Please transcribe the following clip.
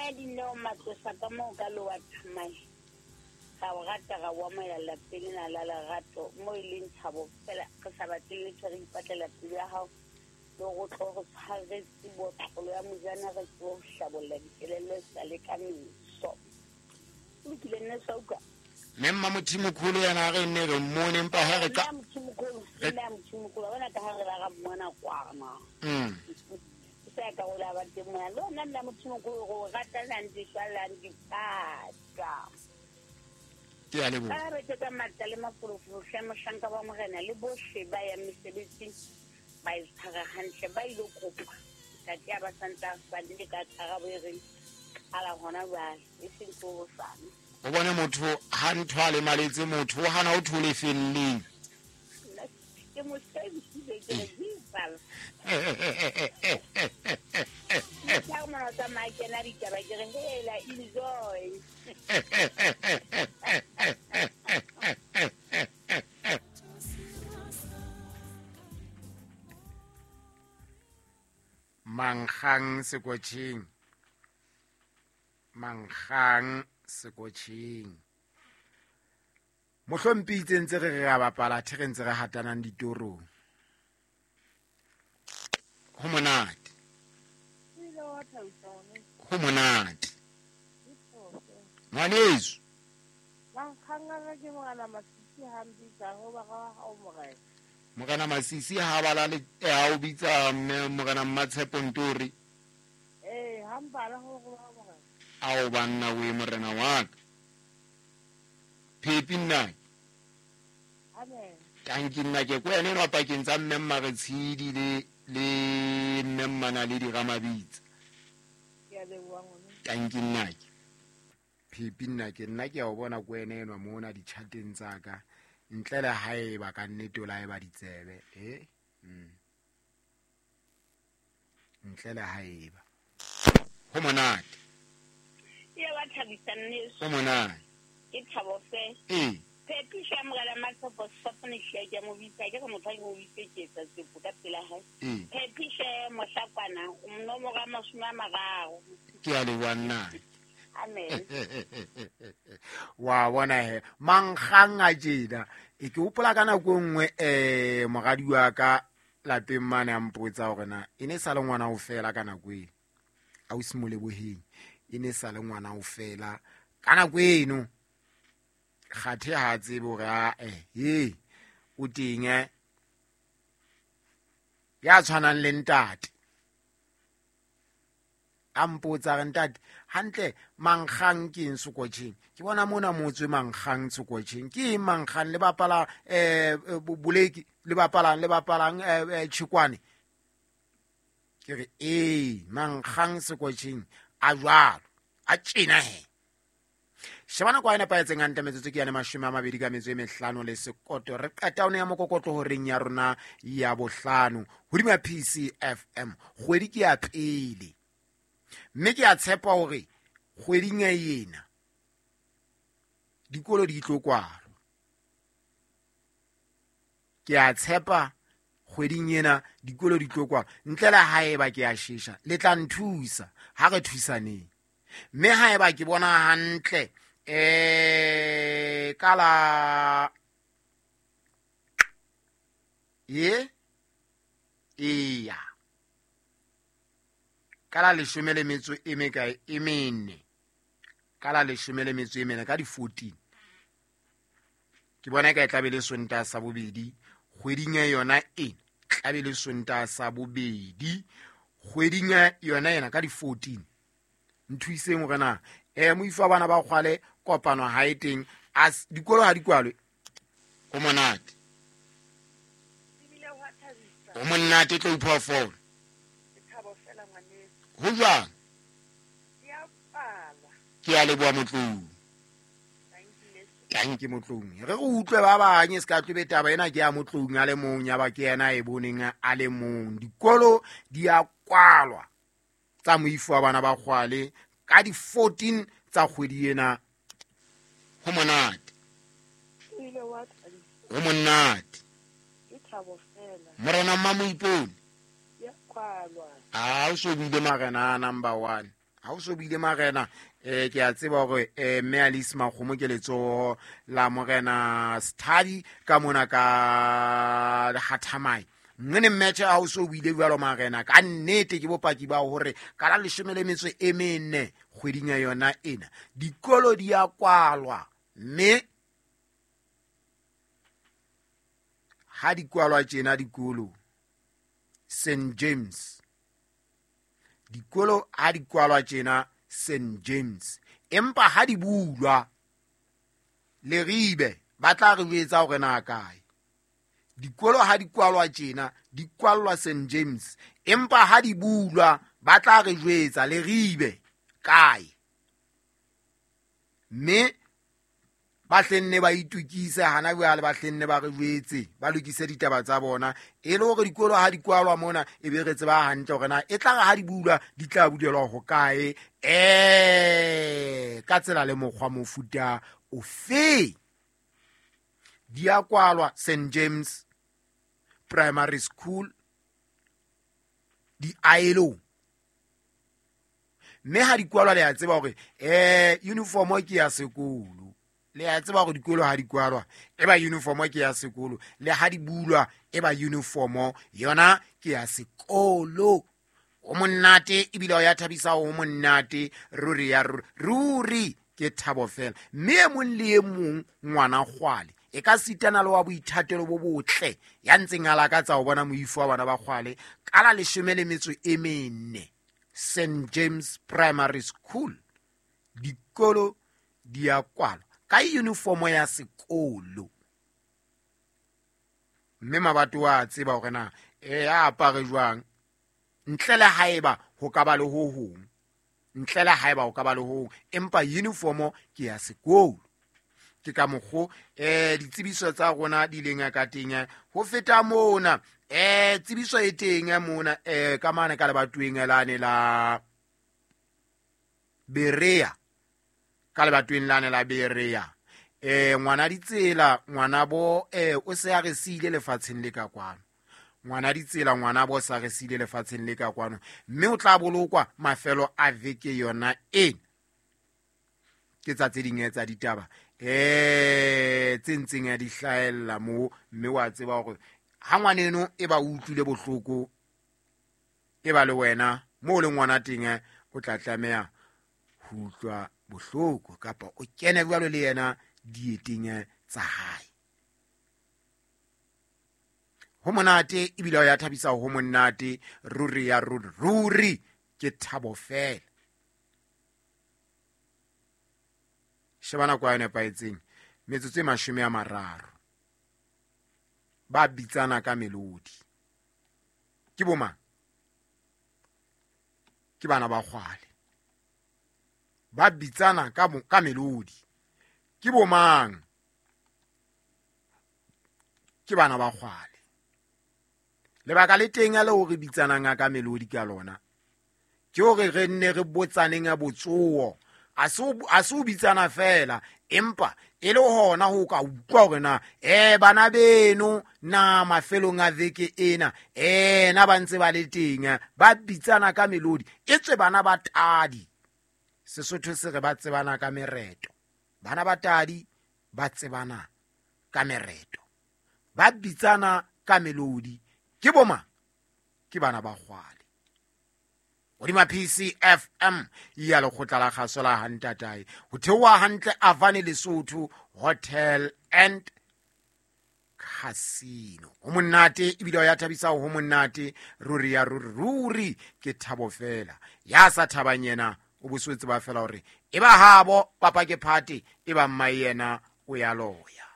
Mme Dineo Matlosa ka moo ka lowa Thamae. Ra o rata ra o amohela lapeng lena la lerato mo e leng thabo fela re sa batle letho re ipatlela pelo ya hao le gore o tlo re tshwaretse botlolo ya mojana re tsebe ho hlabolla dikelello e sa le ka meso. O lokile nne sa utlwa. Mme Mmamothimokholo yena a re nne re mmone empa he re ka Mmamothimokholo, Mmamothimokholo, wa bona ka ha re la ra mmona kwana. Se ka o la ba teng mona. Le ona Mmamothimokholo go rata lang di lang dipata. Ke a leboha. Ka re ke ka matla le mafolofolo hle mohlanka wa morena le bohle ba yang mesebetsing ba e tshwara hantle ba ilo kopa ntate a ba santse a fane ka karabo e reng qala hona jwale e seng ke hosane. O bone motho ha ntho a lemaletse motho o hana o thole felleng. Ke mo shebile ke re Jesus. Ke mona tsamaya kena ditaba ke re hela enjoy. Mankgang sekotjheng. Mankgang sekotjheng. Mohlompitse ntse re re a bapala the re ntse re hatanang ditorong. Ho monate. Ho monate. Ngwaneso. Morena Masisi ha bala le ha o bitsa Morena Mmatshepo Ntori. Eh, ha mpala ho go ba morena. Ao banna we morena wa ka. Phepi nna. Amen. Tanki nna ke ko ene no pakeng tsa mme Mmaretshidi le mme Mmana le Diramabitsa. Ke a leboha ngwana. Tanki nna ke. Phepi nna ke nna ke a o bona ko ene enwa mona ditjhateng tsa ka. Ntle le haeba ka nnete o la eba ditsebe, eh? Ntle le haeba. Ho monate. Ya ba thabisa nneso. Ho monate. Ke thabo fe. Ee. Phepiso ya Morena Matshepo Sefapane hle ke a mo bitsa, ke re motho ha ke mo bitse ke etsa tsepo ka pela hae. Ee. Phepiso ya Mohlakwana, o nomoro ya 30. Ke a leboha nna. Amen. Wa bona he, mankgang a tjena. E ke hopola ka nako e nngwe, moradi wa ka lapeng mane a mpotsa hore na e ne sa le ngwana o fela ka nako eno. Ausi Moleboheng, e ne sa le ngwana o fela ka nako eno. Kgathe ha a tsebe hore a he, o teng, ya tshwanang le ntate. A mpotsa re ntate, hantle mankgang ke eng sekotjheng? Ke bona mona motswe mankgang sekotjheng. Ke eng mankgang? Le bapala, boleki, le bapalang, le bapalang, tjhekwane. Ke re, ee, mankgang sekotjheng a jwalo, a tjena he. Sheba nako e nepahetseng hantle metsotso ke yane 25. Re qeta ho neha mokokotlo horeng ya rona ya bohlano hodima PCFM. Kgwedi ke ya pele. Mme ke a tshepa hore kgweding ya ena dikolo di tlo kwalwa. Ke a tshepa kgweding ena dikolo di tlo kwalwa. Ntle le haeba ke a shesha, le tla nthusa ha re thusaneng. Mme haeba ke bona hantle, ka la ye eya ka la leshome le metso e mekae e mene, ka la leshome le metso e mene ka di 14, ke bona e ka e tlabe le Sontaha sa bobedi kgweding ya yona e tlabe le Sontaha sa bobedi kgweding ya yona ena ka di 14. Nthuiseng hore na, moifo wa bana ba kgwale kopano ha e teng, a dikolo ha di kwalwe. Ho monate. Ho monate tlo iphoofolo. Ho jwang? Ke a leboha Motloung. Tanki Motloung. Re re utlwe ba bang, e se ka tlobe taba ena ke ya Motloung a le mong, ya ba ke yena e boneng a le mong. Dikolo di a kwalwa tsa moifo wa bana ba kgwale ka di 14 tsa kgwedi ena. Ho monate. Ho monate. Morena Mmamoipone. A o so buile marena a number 1. Ha o so buile marena, ke a tseba hore mme Alice Makgomo ke letsoho la morena Sthadi ka mona ka Hathamai. Nngwe mmetjhe ha o so buile jwalo marena, ka nnete ke bopaki ba hore ka la 14 kgweding ya yona ena dikolo di a kwalwa, mme ha di kwalwa tjena dikolo St James, dikolo ha di kwalwa tjena St James, empa ha di bulwa Leribe ba tla re jwetsa hore na kae. Dikolo ha di kwalwa tjena di kwallwa St James, empa ha di bulwa ba tla re jwetsa Leribe kae. Mme ba hlenne ba itukise hana jwale, ba hlenne ba re jwetse, ba lokise ditaba tsa bona, e le hore dikolo ha di kwalwa mona e be re tseba hantle hore na e tla re ha di bulwa di tla bulelwa ho kae, ka tsela le mokgwa mofuta ofe. Di a kwalwa St James Primary School di aelo, mme ha di kwalwa le a tseba hore uniform ke ya sekolo. Le a tseba hore dikolo ha di kwalwa e ba uniform ke ya sekolo, le ha di bulwa e ba uniform yona ke ya sekolo. O monate ebile o ya thabisa, o monate ruri ya ruri, ruri ke thabo fela. Mme e mong le e mong ngwana kgwale e ka sitana le wa boithatelo bo botle ya ntseng a lakatsa ho bona moifo wa bana ba kgwale ka la 14 St James Primary School dikolo di a kwalwa ka uniform ya sekolo. Mme mabato a tseba hore na a apare jwang, ntle le haeba ho ka ba le ho hong, ntle le haeba ho ka ba le ho hong, empa uniform ke ya sekolo. Ke ka mokgo ditsebiso tsa rona di leng ka teng. Ho feta mona, tsebiso e teng mona ka mane ka lebatoweng lane la Berea, ka lebatoweng lane la Berea, ngwana ditsela ngwana bo o se a re siile lefatsheng le ka kwano. Ngwana ditsela ngwana bo sa re siile lefatsheng le ka kwano, mme o tla bolokwa mafelo a veke yona ena. Ke tsa tse ding tsa ditaba tse ntseng di hlahella moo, mme wa tseba hore ha ngwaneno e ba utlwile bohloko e ba le wena moo le ngwana teng o tla tlameha ho utlwa bohloko, kapa o kene jwalo le yena dieteng tsa hae. Ho monate ebile o ya thabisa, ho monate ruri ya ruri, ruri ke thabo fela. Sheba nako ya nepahetseng, metsotso e 30. Ba bitsana ka melodi. Ke bo mang? Ke bana ba kgwale. Ba bitsana ka melodi. Ke bomang? Ke bana ba kgwale. Lebaka le teng le hore bitsanang ka melodi ka lona ke hore re nne re botsaneng a botsoho. A se o bitsana fela, empa e le hona ho ka utlwa hore na bana beno na mafelong a veke ena na ba ntse ba le teng, ba bitsana ka melodi. E tswe bana ba tadi, Sesotho se re ba tsebana ka mereto. Bana ba tadi ba tsebana ka mereto, ba bitsana ka melodi. Ke boma? Ke bana ba kgwale. Hodima PCFM ya lekgotla la kgaso la Hantatae, ho theoha hantle Avane Lesotho Hotel and Casino. Ho monate ebile o ya thabisa, ho monate ruri ya ruri, ruri ke thabo fela. Ya sa thabang yena o boswetse ba fela hore e ba habo papa ke phate, e ba mma yena o ya loya.